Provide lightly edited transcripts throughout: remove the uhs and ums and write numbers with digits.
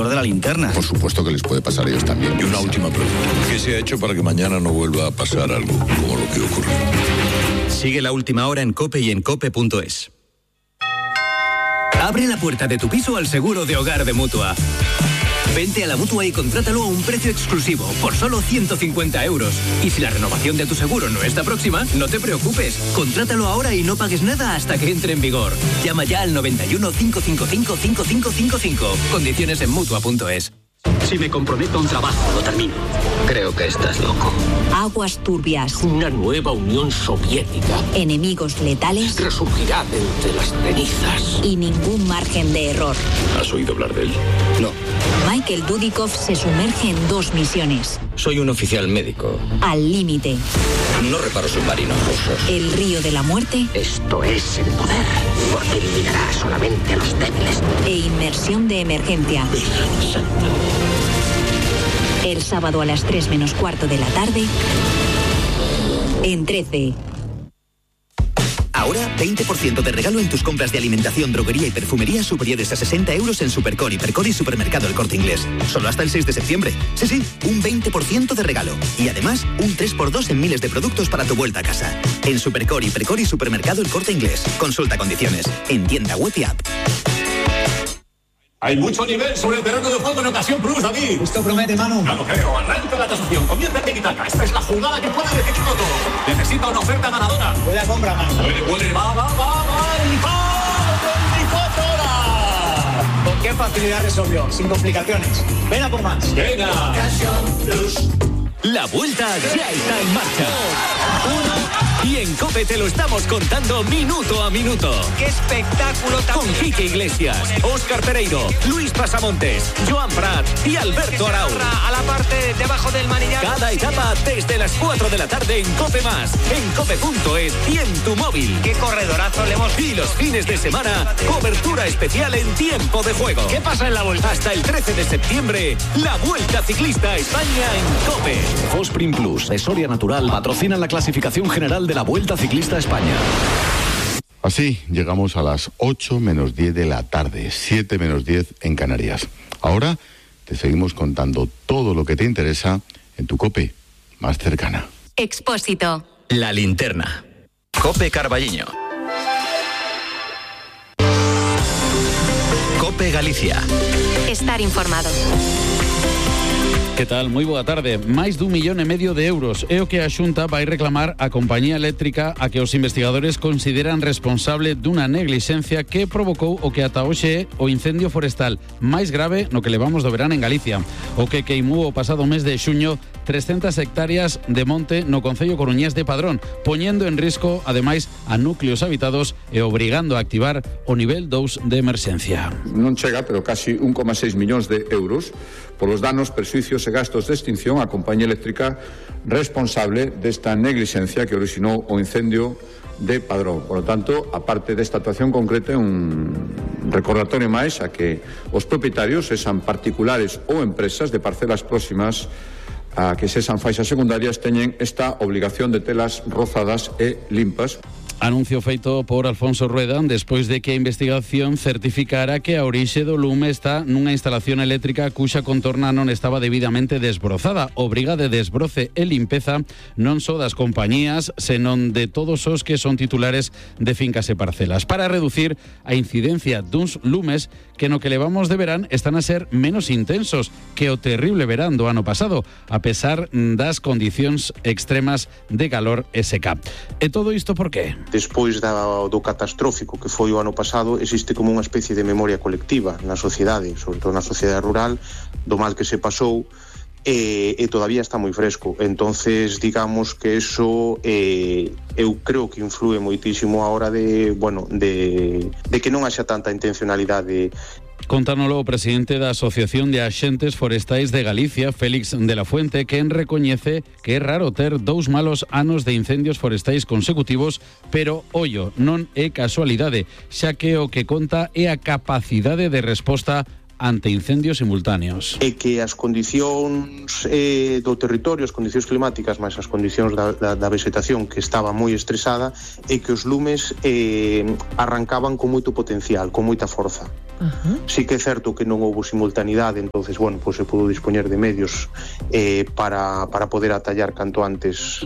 de la linterna. Por supuesto que les puede pasar a ellos también. Y una última pregunta. ¿Qué se ha hecho para que mañana no vuelva a pasar algo como lo que ocurrió? Sigue La Última Hora en COPE y en COPE.es. Abre la puerta de tu piso al seguro de hogar de Mutua. Vente a la Mutua y contrátalo a un precio exclusivo, por solo 150 euros. Y si la renovación de tu seguro no está próxima, no te preocupes. Contrátalo ahora y no pagues nada hasta que entre en vigor. Llama ya al 91 555 5555. Condiciones en Mutua.es. Si me comprometo a un trabajo, lo termino. Creo que estás loco. Aguas turbias. Una nueva Unión Soviética. Enemigos letales. Resurgirá de entre las cenizas. Y ningún margen de error. ¿Has oído hablar de él? No. Michael Dudikoff se sumerge en 2 misiones. Soy un oficial médico. Al límite. No reparo submarinos rusos. El río de la muerte. Esto es el poder, porque eliminará solamente a los débiles. E inmersión de emergencia. Virgen Santa. El sábado a las 3 menos cuarto de la tarde. En 13. Ahora, 20% de regalo en tus compras de alimentación, droguería y perfumería superiores a 60 euros en Supercor, Hipercor y Supermercado El Corte Inglés. Solo hasta el 6 de septiembre. Sí, un 20% de regalo. Y además, un 3x2 en miles de productos para tu vuelta a casa. En Supercor, Hipercor y Supermercado El Corte Inglés. Consulta condiciones. En tienda web y app. Hay mucho nivel sobre el terreno de juego en Ocasión Plus, David. Esto promete, Manu. No lo creo. Arranca la tasación. Comienza el tiki-taka. Esta es la jugada que puede decidirlo todo. Necesita una oferta ganadora. Buena compra, Manu. Puede. Va. ¡El gol! ¡24 horas! ¿Con qué facilidad resolvió? Sin complicaciones. Ven a por más. Venga. Ocasión Plus. La vuelta ya está en marcha. Y en COPE te lo estamos contando minuto a minuto. ¡Qué espectáculo tan Con Quique Iglesias, Óscar Pereiro, Luis Pasamontes, Joan Prat y Alberto Arau. a la parte debajo del manillar! Cada etapa desde las 4 de la tarde en COPE+, en COPE.es y en tu móvil. ¡Qué corredorazo le hemos! Y los fines de semana, cobertura especial en tiempo de juego. ¿Qué pasa en la vuelta? Hasta el 13 de septiembre, la Vuelta Ciclista a España en COPE. Fosprin Plus, de Soria Natural, patrocinan la clasificación general de la Vuelta Ciclista a España. Así llegamos a las 8 menos 10 de la tarde, 7 menos 10 en Canarias. Ahora te seguimos contando todo lo que te interesa en tu COPE más cercana. Expósito. La linterna. COPE Carballiño. COPE Galicia. Estar informado. Que tal? Moi boa tarde. Máis dun 1,5 millón de euros é o que a Xunta vai reclamar á compañía eléctrica a que os investigadores consideran responsable dunha neglixencia que provocou o que ata hoxe é o incendio forestal máis grave no que levamos do verán en Galicia, o que queimou o pasado mes de xuño 300 hectáreas de monte no concello coruñés de Padrón, poñendo en risco, ademais, a núcleos habitados e obrigando a activar o nivel 2 de emerxencia. Non chega, pero casi 1,6 millóns de euros polos danos, perxuicios e gastos de extinción á compañía eléctrica responsable desta neglixencia que orixinou o incendio de Padrón. Por lo tanto, aparte desta actuación concreta, un recordatorio máis a que os propietarios, sexan particulares ou empresas de parcelas próximas a que sexan faixas secundarias, teñen esta obligación de telas rozadas e limpas. Anuncio feito por Alfonso Rueda despois de que a investigación certificara que a orixe do lume está nunha instalación eléctrica cuxa contorna non estaba debidamente desbrozada. Obriga de desbroce e limpeza non só das compañías, senón de todos os que son titulares de fincas e parcelas, para reducir a incidencia duns lumes que no que levamos de verán están a ser menos intensos que o terrible verán do ano pasado, a pesar das condicións extremas de calor e seca. E todo isto por qué? Despois do catastrófico que foi o ano pasado, existe como unha especie de memoria colectiva na sociedade, sobre todo na sociedade rural, do mal que se pasou, e todavía está moi fresco. Entonces, digamos que eso eu creo que influe moitísimo a hora de que non haxa tanta intencionalidade. Contánolo o presidente da Asociación de Axentes Forestais de Galicia, Félix de la Fuente, quen recoñece que é raro ter 2 malos anos de incendios forestais consecutivos, pero, ollo, non é casualidade, xa que o que conta é a capacidade de resposta ante incendios simultáneos. E que as condicións do territorio, as condicións climáticas, máis as condicións da vegetación que estaba moi estresada, e que os lumes arrancaban con moito potencial, con moita forza. Sí que é certo que non houve simultaneidade, entonces, bueno, pues se pudo dispoñer de medios para poder atallar canto antes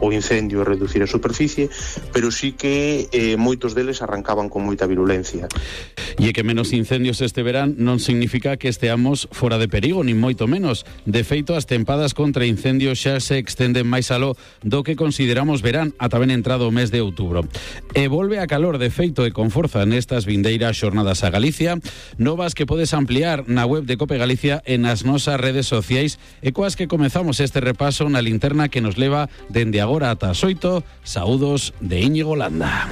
o incendio e reducir a superficie, pero sí que moitos deles arrancaban con moita virulencia. E que menos incendios este verán non significa que esteamos fora de perigo, nin moito menos. De feito, as tempadas contra incendios xa se extenden máis aló do que consideramos verán ata ben entrado o mes de outubro. E volve a calor de feito e con forza nestas vindeiras xornadas a Galicia, novas que podes ampliar na web de Cope Galicia e nas nosas redes sociais, e coas que comezamos este repaso na linterna que nos leva dende agora ata as 8. Saúdos de Íñigo Landa.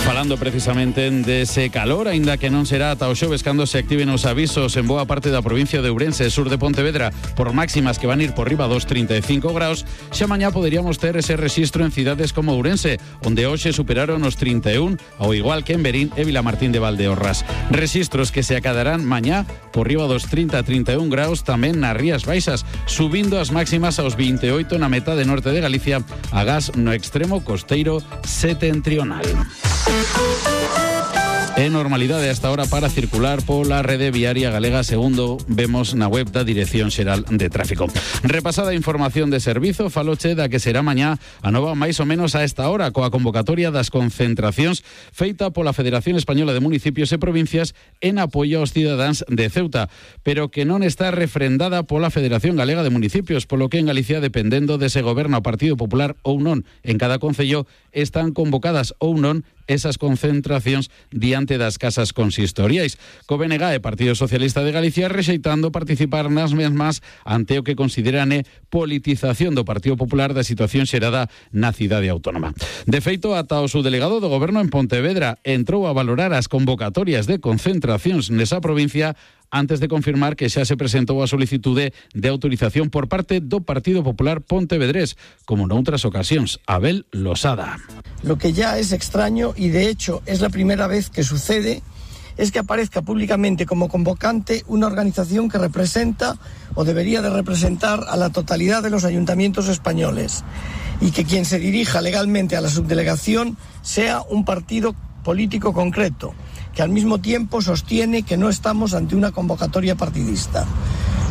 Falando precisamente dese calor, aínda que non será ata o xoves cando se activen os avisos en boa parte da provincia de Ourense e sur de Pontevedra por máximas que van ir por riba dos 35 graus, xa mañá poderíamos ter ese rexistro en cidades como Ourense, onde hoxe superaron os 31, ao igual que en Verín e Vilamartín de Valdeorras. Rexistros que se acadarán mañá por riba dos 30-31 graus tamén nas Rías Baixas, subindo as máximas aos 28 na metade norte de Galicia, agás no extremo costeiro setentrional. E normalidade hasta ahora para circular pola rede viaria galega, segundo vemos na web da Dirección Xeral de Tráfico. Repasada a información de servizo, faloche da que será mañá a nova máis ou menos a esta hora, coa convocatoria das concentracións feita pola Federación Española de Municipios e Provincias en apoio aos cidadáns de Ceuta, pero que non está refrendada pola Federación Galega de Municipios, polo que en Galicia, dependendo de se goberna o Partido Popular ou non en cada concello, están convocadas ou non esas concentracións diante das casas consistoriais. Co BNG e Partido Socialista de Galicia rexeitando participar nas mesmas ante o que consideran politización do Partido Popular da situación xerada na cidade autónoma. De feito, ata o subdelegado do Goberno en Pontevedra entrou a valorar as convocatorias de concentracións nesa provincia antes de confirmar que xa se presentou a solicitude de autorización por parte do Partido Popular Pontevedrés, como noutras ocasións. Abel Losada. Lo que ya es extraño, y de hecho es la primera vez que sucede, es que aparezca públicamente como convocante una organización que representa o debería de representar a la totalidad de los ayuntamientos españoles, y que quien se dirija legalmente a la subdelegación sea un partido político concreto, que al mismo tiempo sostiene que no estamos ante una convocatoria partidista.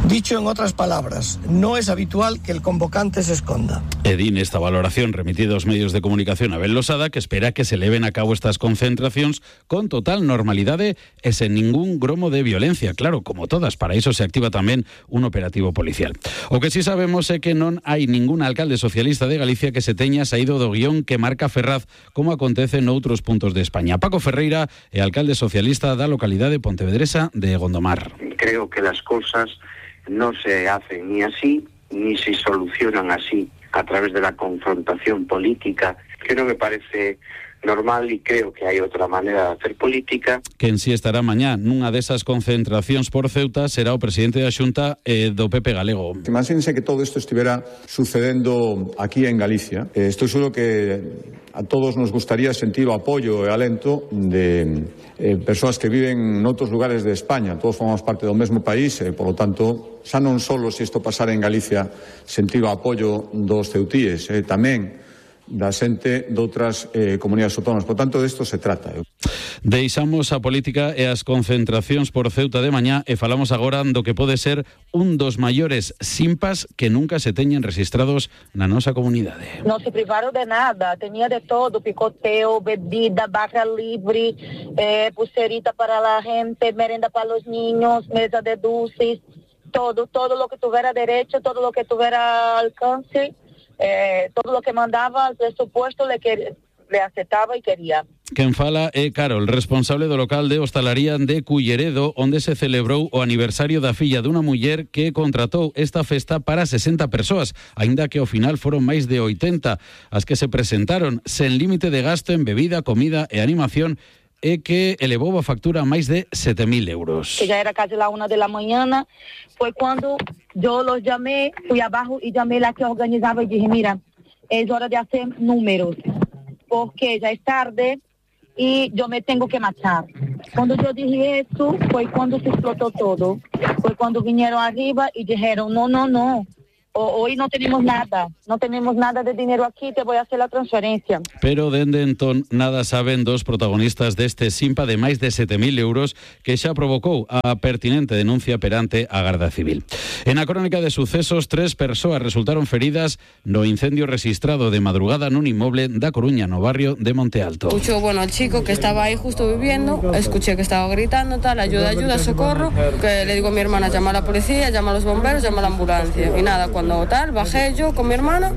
Dicho en otras palabras, no es habitual que el convocante se esconda. Edín esta valoración remitida aos medios de comunicación a Abel Losada, que espera que se leven a cabo estas concentracións con total normalidade e sen ningún gromo de violencia. Claro, como todas, para iso se activa tamén un operativo policial. O que sí sabemos é que non hai ningún alcalde socialista de Galicia que se teña saído do guión que marca Ferraz, como acontece noutros puntos de España. Paco Ferreira é alcalde socialista da localidade pontevedresa de Gondomar. Creo que las cosas no se hacen ni así, ni se solucionan así, a través de la confrontación política, que no me parece normal, e creo que hai outra maneira de hacer política. Quen si estará mañá nunha desas concentracións por Ceuta será o presidente da Xunta do PP galego. Imagínense que todo isto estivera sucedendo aquí en Galicia. Estou seguro que a todos nos gustaría sentir o apoio e alento de persoas que viven noutros lugares de España. Todos formamos parte do mesmo país e, por lo tanto, xa non só se isto pasara en Galicia, sentir o apoio dos ceutíes, tamén da xente doutras comunidades autónomas. Por tanto, desto se trata. Deixamos a política e as concentracións por Ceuta de mañá e falamos agora do que pode ser un dos maiores simpas que nunca se teñen registrados na nosa comunidade. Non se privaron de nada, tenía de todo, picoteo, bebida, barra libre, pulserita para la gente, merenda para los niños, mesa de dulces, todo lo que tuviera derecho, todo lo que tuviera alcance. Todo lo que mandaba el presupuesto le aceptaba y quería. Quen fala é Carol, responsable do local de hostalaría de Culleredo, onde se celebrou o aniversario da filla dunha muller que contratou esta festa para 60 persoas, aínda que ao final foron máis de 80 as que se presentaron, sen límite de gasto en bebida, comida e animación, e que elevou a factura a máis de 7.000 euros. Que ya era casi la 1 de la mañana, fue cuando yo los llamé, fui abajo y llamé la que organizaba y dije, mira, es hora de hacer números, porque ya es tarde y yo me tengo que matar. Cuando yo dije eso, fue cuando se explotó todo. Fue cuando vinieron arriba y dijeron, no. Hoy no tenemos nada de dinero aquí, te voy a hacer la transferencia. Pero dende entón nada saben dos protagonistas deste simpa de máis de 7.000 euros que xa provocou a pertinente denuncia perante a Garda Civil. En a crónica de sucesos, 3 persoas resultaron feridas no incendio registrado de madrugada nun inmoble da Coruña, no barrio de Monte Alto. Escucho, al chico que estaba ahí justo viviendo, escuché que estaba gritando, tal, ayuda, socorro, que le digo a mi hermana, llama a la policía, llama a los bomberos, llama a la ambulancia. Y nada, cuando tal, bajé yo con mi hermana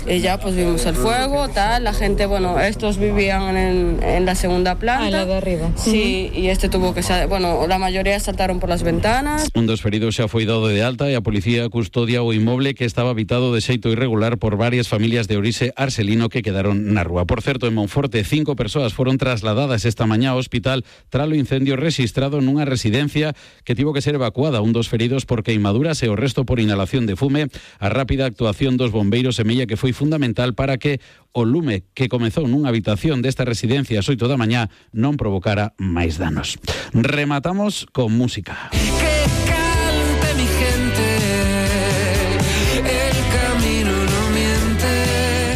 y ya pues vimos el fuego, tal, la gente, estos vivían en la segunda planta. En la de arriba. Sí, y tuvo que la mayoría saltaron por las ventanas. Un dos feridos xa foi dado de alta e a policía custodia o inmoble que estaba habitado de xeito irregular por varias familias de orixe arselino que quedaron na rúa. Por certo, en Monforte, 5 persoas foron trasladadas esta mañá ao hospital tras o incendio registrado nunha residencia que tivo que ser evacuada. Un dos feridos por queimaduras e o resto por inhalación de fume. A rápida actuación dos bombeiros semella que foi fundamental para que o lume que comezou nunha habitación desta residencia ás 8 da mañá non provocara máis danos. Rematamos con música. Que cante mi gente, el camino no miente.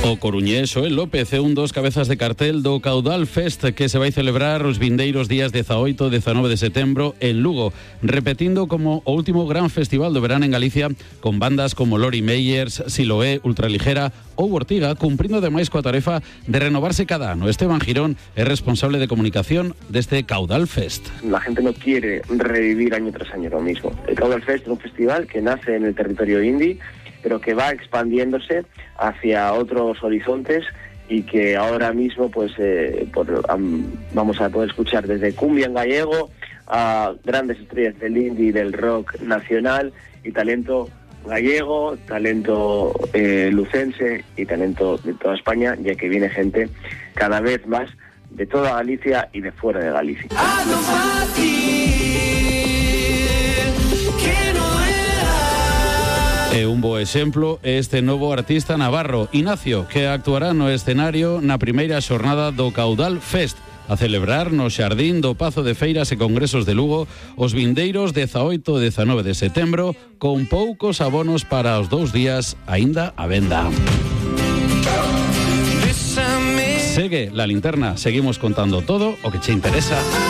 O coruñés Xoel López é un dos cabezas de cartel do Caudal Fest que se vai celebrar os vindeiros días 18 e 19 de setembro en Lugo, repetindo como o último gran festival do verán en Galicia con bandas como Lori Meyers, Siloé, Ultraligera ou Ortiga, cumprindo ademais coa tarefa de renovarse cada ano. Esteban Girón é responsable de comunicación deste Caudal Fest. La gente no quiere revivir año tras año lo mismo. El Caudal Fest es un festival que nace en el territorio indie, pero que va expandiéndose hacia otros horizontes y que ahora mismo vamos a poder escuchar desde cumbia en gallego a grandes estrellas del indie y del rock nacional y talento gallego, talento lucense y talento de toda España, ya que viene gente cada vez más de toda Galicia y de fuera de Galicia. E un bo exemplo é este novo artista navarro, Ignacio, que actuará no escenario na primeira xornada do Caudal Fest, a celebrar no Xardín do Pazo de Feiras e Congresos de Lugo os vindeiros 18 e 19 de setembro, con poucos abonos para os 2 días aínda á venda. Segue La Linterna, seguimos contando todo o que che interesa.